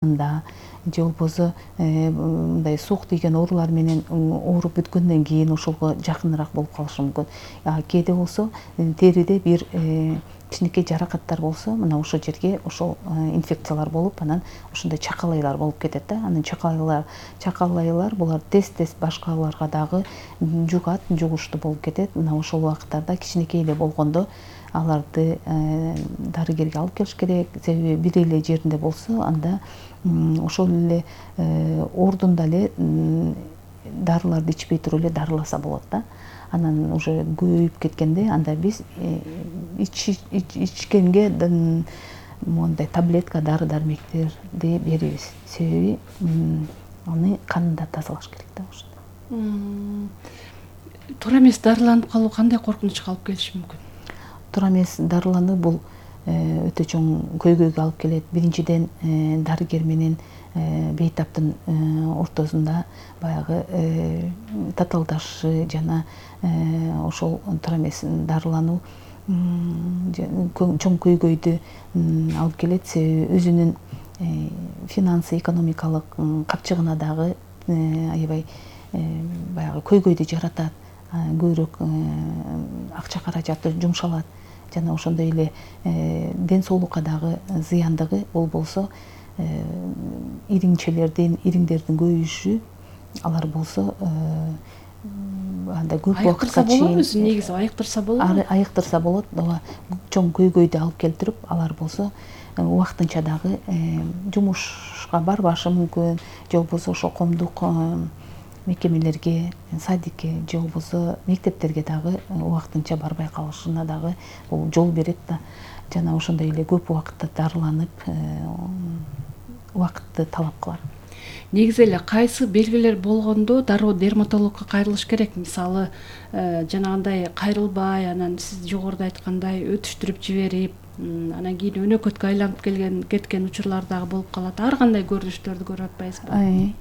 же болбосо мындай суук тийген оорулар менен ооруп бүткөндөн кийин ошого жакыныраак болуп калышы мүмкүн. Кээде болсо териде бир кичинекей жаракаттар болсо, мына ошол жерге ошол инфекциялар болуп, анан ошондой чакалайлар болуп кетет да. Анан чакалайлар булар тез башкаларга дагы жугуштуу болуп кетет. Мына ошол убакыттарда кичинекей эле болгондо аларды дарыгерге алып келиш керек. Себеби бир эле жеринде болсо, анда ошол эле ордунда эле дарыларды ичпей туруп эле дарыласа болот да. Анан уже көбөйүп кеткенде анда биз ичкенге мондай таблетка дары-дармектерди беребиз. Себеби аны канында тазалаш керек да ошондо. Туура эмес дарыланып калуу кандай коркунучка алып келиши мүмкүн? Туура эмес дарылануу бул өтө чоң көйгөйгө алып келет. Биринчиден дарыгер менен бейтаптын ортосунда баягы татаалдашы жана ошол туура эмес дарылануу чоң көйгөйдү алып келет. Себеби өзүнүн финансы, экономикалык капчыгына дагы аябай баягы көйгөйдү жаратат. Көбүрөөк акча каражаты жумшалат. Жана ошондой эле ден соолукка дагы зыяндыгы бул болсо ириңдердин көбөйүшү, алар болсо анда көп убакытка чейин негизи айыктырса болобу? Айыктырса болот. Ооба, чоң көйгөйдү алып келтирип, алар болсо убактынча дагы жумушка барбашы мүмкүн, же болбосо ошо коомдук мекемелерге, садикке, же болбосо мектептерге дагы убактынча барбай калышына дагы бул жол берет да. Жана ошондой эле көп убакытта дарыланып, убакытты талап кылат. Негизи эле кайсы белгилер болгондо дароо дерматологко кайрылыш керек? Мисалы, жанагындай кайрылбай, анан сиз жогоруда айткандай өтүштүрүп жиберип, анан кийин өнөкөткө айланып кеткен учурлар дагы болуп калат. Ар кандай көрүнүштөрдү көрүп атпайсызбы?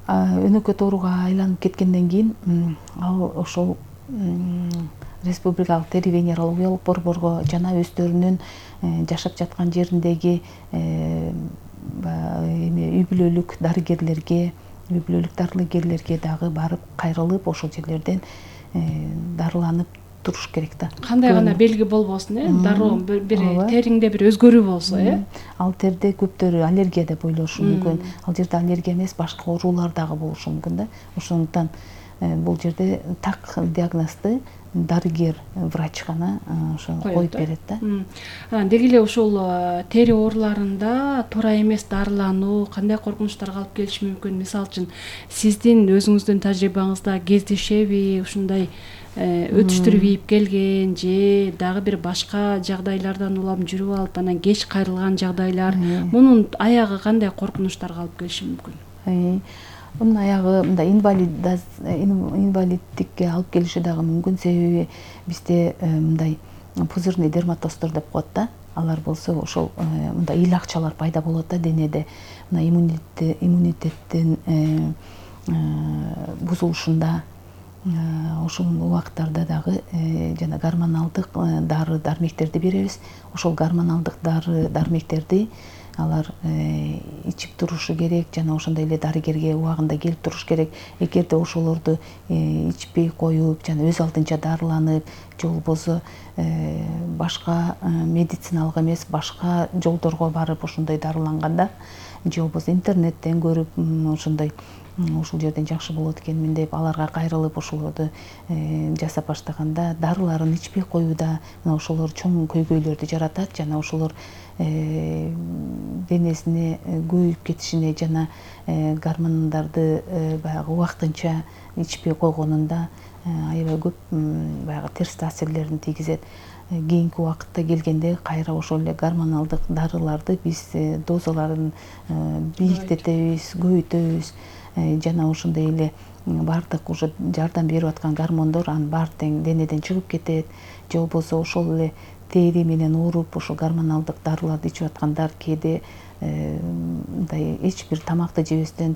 Өнөкөт ооруга айланып кеткенден кийин ал ошол республикалык тери венерологиялык борборго жана өздөрүнүн жашап жаткан жериндеги үй бүлөлүк дарыгерлерге дагы барып кайрылып, ошол жерлерден дарыланып туруш керек да. Кандай гана белги болбосун, дароо бир териңде бир өзгөрүү болсо, Ал терде көптөрү аллергия деп ойлошу мүмкүн. Ал жерде аллергия эмес, башка оорулар дагы болушу мүмкүн да. Ошондуктан бул жерде так диагнозду дарыгер, врач гана ошо коюп берет да. Деги эле ушул тери ооруларында туура эмес дарылануу кандай коркунучтарга алып келиши мүмкүн? Мисалы үчүн, сиздин өзүңүздүн тажрыйбаңызда кездешеби ушундай өтүштүрүп ийип келген же дагы бир башка жагдайлардан улам жүрүп алып, анан кеч кайрылган жагдайлар? Мунун аягы кандай коркунучтарга алып келиши мүмкүн? Мунун аягы мындай инвалиддикке алып келиши дагы мүмкүн. Себеби бизде мындай пузырный дерматоздор деп коет да. Алар болсо ошол мындай ыйлакчалар пайда болот да денеде. Мына иммунитеттин бузулушунда, ошол убакыттарда дагы жана гормоналдык дары-дармектерди беребиз. Ошол гормоналдык дары-дармектерди алар ичип турушу керек, жана ошондой эле дарыгерге убагында келип туруш керек. Эгерде ошолорду ичпей коюп, жана өз алдынча дарыланып, же болбосо башка медициналык эмес, башка жолдорго барып ошондой дарыланганда, же болбосо интернеттен көрүп ошондой ушул жерден жакшы болот экенмин деп аларга кайрылып ошолорду жасап баштаганда, дарыларын ичпей коюуда мына ошолор чоң көйгөйлөрдү жаратат. Жана ошолор денесине көбөйүп кетишине жана гормондорду баягы убактынча ичпей койгонунда аябай көп баягы терс таасирлерин тийгизет. Кийинки убакытта келгенде кайра ошол эле гормоналдык дарыларды биз дозаларын бийиктетебиз, көбөйтөбүз. Жана ошондой эле баардык уже жардам берип аткан гормондор анын баары тең денеден чыгып кетет. Же болбосо ошол эле тери менен ооруп, ошол гормоналдык дарыларды ичип аткандар кээде мындай эч бир тамакты жебестен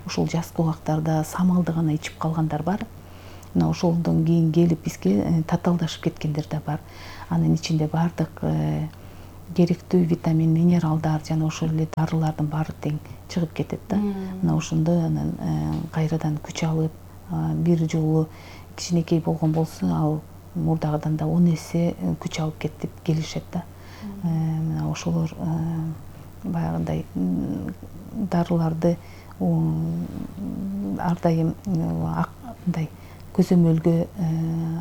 ушул жазкы убактарда самалды гана ичип калгандар бар. Мына ошолдон кийин келип бизге татаалдашып кеткендер да бар. Анын ичинде баардык керектүү витамин, минералдар жана ошол эле дарылардын баары тең чыгып кетет да. Мына ошондо анан кайрадан күч алып, бир жолу кичинекей болгон болсо, ал мурдагыдан да 10 эсе күч алып кетип келишет да. Мына ошолор баягындай дарыларды ар дайым мындай көзөмөлгө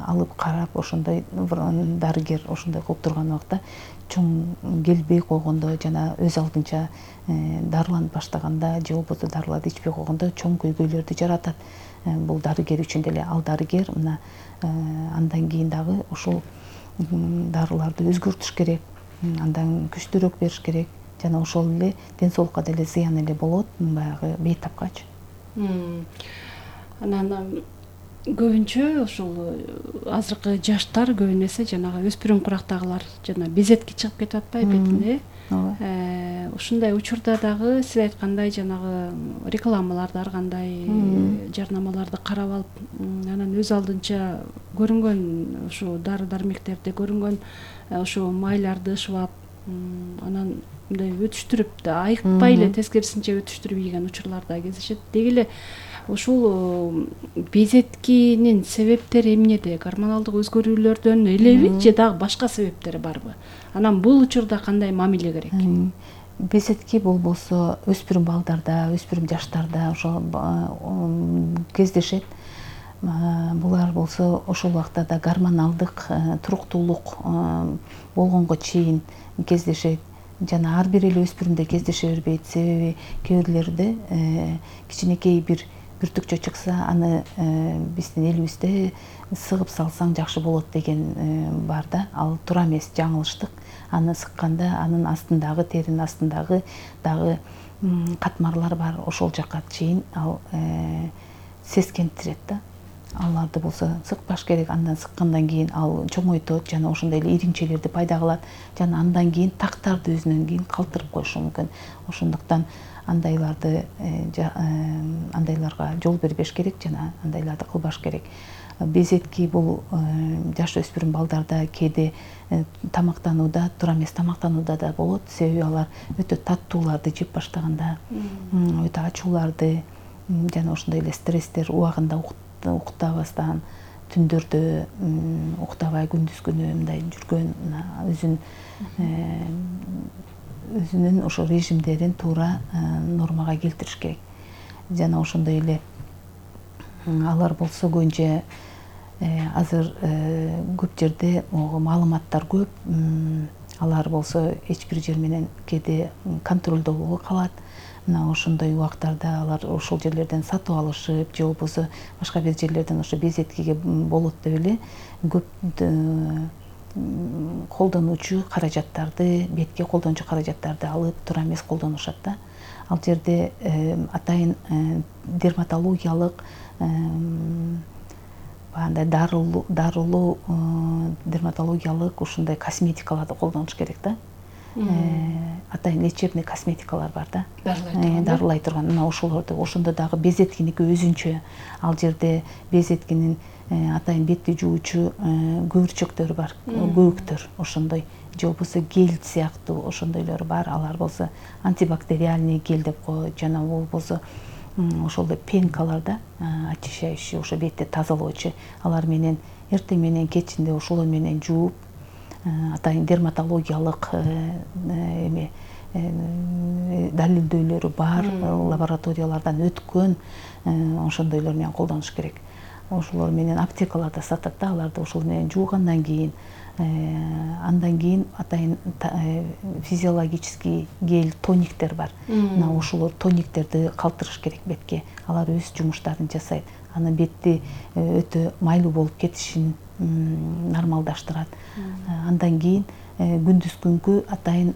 алып карап, ошондой дарыгер ошондой кылып турган убакта чоң келбей койгондо жана өз алдынча дарыланып баштаганда же болбосо дарыларды ичпей койгондо чоң көйгөйлөрдү жаратат. Бул дарыгер үчүн деле. Ал дарыгер мына андан кийин дагы ушул дарыларды өзгөртүш керек, андан күчтүүрөөк бериш керек жана ошол эле ден соолукка деле зыян эле болот баягы бейтапкачы. Анан көбүнчө ушул азыркы жаштар көбүн эсе жанагы өспүрүм курактагылар жана безетки чыгып кетип атпайбы бетине. Ооба. Ушундай учурда дагы сиз айткандай жанагы рекламаларды ар кандай жарнамаларды карап алып, анан өз алдынча көрүнгөн ушу дары дармектерде көрүнгөн ушу майларды ышып, анан мындай өтүштүрүп да айыкпай эле тескерисинче өтүштүрүп ийген учурлар да кездешет. Деги эле ушул безеткинин себептери эмнеде? Гормоналдык өзгөрүүлөрдөн элеби же дагы башка себептери барбы? Анан бул учурда кандай мамиле керек? Безетки болбосо өспүрүм балдарда, өспүрүм жаштарда ошо кездешет. Булар болсо ошол убакта да гормоналдык туруктуулук болгонго чейин кездешет. Жана ар бир эле өспүрүмдө кездеше бербейт. Себеби кээ бирлерде кичинекей бир бүртүкчө чыкса, аны биздин элибизде сыгып салсаң жакшы болот деген бар да. Ал туура эмес, жаңылыштык. Аны сыкканда анын астындагы, теринин астындагы дагы катмарлар бар. Ошол жакка чейин ал сескентирет да. Аларды болсо сыкпаш керек. Андан сыккандан кийин ал чоңойтот жана ошондой эле иримчелерди пайда кылат. Жана андан кийин тактарды өзүнөн кийин калтырып коюшу мүмкүн. Ошондуктан андайларга жол бербеш керек жана андайларды кылбаш керек. Безетки бул жаш өспүрүм балдарда кээде тамактанууда, туура эмес тамактанууда да болот. Себеби алар өтө таттууларды жеп баштаганда, өтө ачууларды жана ошондой эле стресстер убагында уктабастан, түндөрдө уктабай күндүз күнү мындай жүргөн, өзүнүн ошо режимдерин туура нормага келтириш керек. Жана ошондой эле алар болсо көбүнчө азыр көп жерде маалыматтар көп. Алар болсо эч бир жер менен кээде контролдо болбой калат. Мына ошондой убактарда алар ошол жерлерден сатып алышып, же болбосо башка бир жерлерден ошо безеткиге болот деп эле көп колдонуучу каражаттарды, бетке колдонуучу каражаттарды алып туура эмес колдонушат да. Ал жерде атайын дерматологиялык бандай дарылуу дерматологиялык ушундай косметикаларды колдонуш керек да. Атайын лечебный косметикалар бар да. Дарылай турган. Мына ошолорду, ошондо дагы безеткиники өзүнчө. Ал жерде безеткинин атайын бетти жуучу көбүрчөктөрү бар, көбүктөр ошондой, же болбосо гель сыяктуу ошондойлору бар. Алар болсо антибактериальный гель деп коет, жана болбосо ошол пенкалар да, очищающий, ошо бетти тазалоочу. Алар менен эртең менен кечинде ошолор менен жууп, атайын дерматологиялык далилдөөлөрү бар, лабораториялардан өткөн ошондойлор менен колдонуш керек. Ошолор менен аптекаларда сатат да, аларды ошол менен жуугандан кийин, андан кийин атайын физиологический гель тониктер бар. Мына ошолор тониктерди калтырыш керек бетке. Алар өз жумуштарын жасайт. Аны бетти өтө майлуу болуп кетишин нормалдаштырат. Андан кийин күндүз күнгү атайын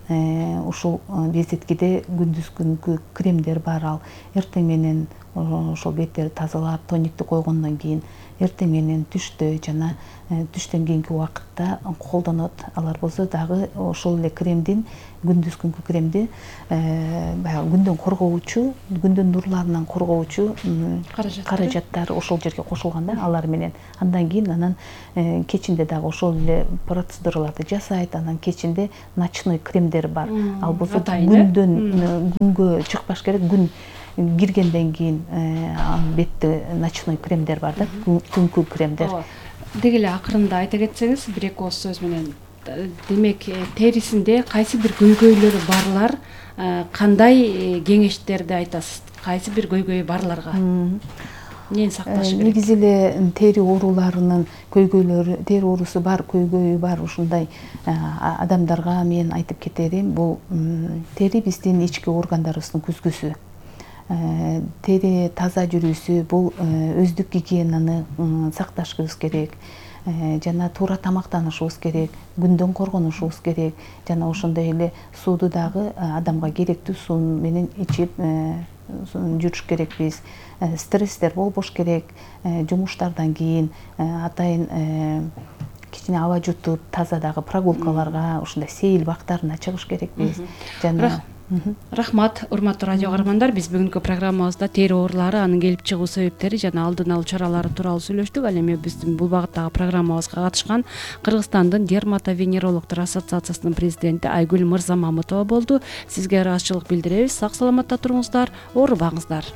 ушул безеткиде күндүз күнгү кремдер бар. Ал эртең менен ошол беттерди тазалап тониктти койгондон кийин эртең менен түштө жана түштөн кийинки убакытта колдонот. Алар болсо дагы ошол эле кремдин, күндүзгүнкү кремди баягы күндөн коргоочу, күндүн нурларынан коргоочу каражаттар ошол жерге кошулган да, алар менен. Андан кийин кечинде дагы ошол эле процедураларды жасайт. Анан кечинде ночной кремдер бар. Ал болсо күнгө чыкпаш керек. Күн киргенден кийин бетте ночной кремдер бар да, түнкү кремдер. Деги эле акырында айта кетсеңиз, бир-эки ооз сөз менен, демек терисинде кайсы бир көйгөйлөрү барлар кандай кеңештерди айтасыз? Кайсы бир көйгөйү барларга эмнени сакташ керек? Негизи эле тери ооруларынын көйгөйлөрү, тери оорусу бар, көйгөйү бар ушундай адамдарга мен айтып кетерим, бул тери биздин ички органдарыбыздын күзгүсү. Тери таза жүрүүсү бул өздүк гигиенаны сакташыбыз керек, жана туура тамактанышыбыз керек, күндөн коргонушубуз керек, жана ошондой эле сууду дагы адамга керектүү суу менен ичип жүрүш керекпиз. Стресстер болбош керек, жумуштардан кийин атайын кичине аба жутуп, таза дагы прогулкаларга, ушундай сейил бактарына чыгыш керекпиз. Жана Рахмат, урматтуу радио каармандар. Биз бүгүнкү программабызда тери оорулары, анын келип чыгуу себептери жана алдын алуу чаралары тууралуу сүйлөштүк. Ал эми биздин бул багыттагы программабызга катышкан Кыргызстандын дерматовенерологдор ассоциациясынын президенти Айгүл Мырзамамытова болду. Сизге ыраазычылык билдиребиз. Сак саламатта туруңуздар, оорубаңыздар.